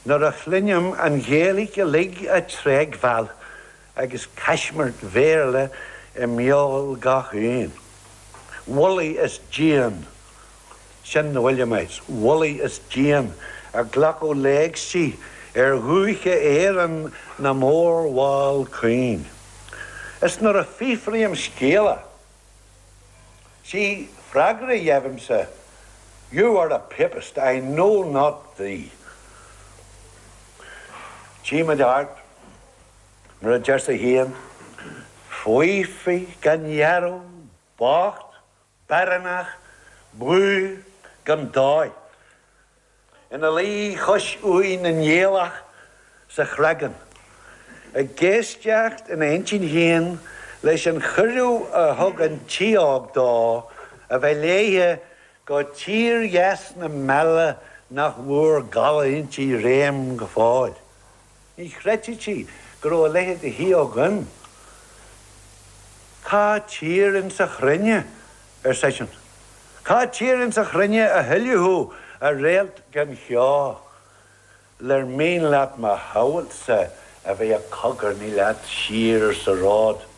Nuair a chluinim an Ghaeilge uilig á tréigbheáil agus caismirt Bhéarla i mbeul gach aon. Woolly is dian. Sin na Williamites, woolly is dian, ag glacadh léigsi ar dhúiche Éireann na mór-mhall caoin. Is nuair a fiafraím scéala, 'Sí freagra a gheibhimse, You are a Papist, I know not thee. Tchímid Art, mar a deir sé féin, faofa, gan dhealramh, bocht, beireannach, buí, gan dóigh, ina luí chois uaigh na nGaelach sa Chreagán, ag éisteacht ina intinn féin leis an chuireadh a thug an tsidheog dó a bheith léithe go tír dheas na meala nach bhfuair gala inti réim go fóill. Ní chreidfeadh sí go raibh a leithéid de shidheog ann. Cá tír insa chruinne, ar seisean, cá tír insa chruinne a hoileadh thú, a réalt gan cheo, lar mian leat mo shamhailtse a bheith ag cogarnaigh leat siar sa ród?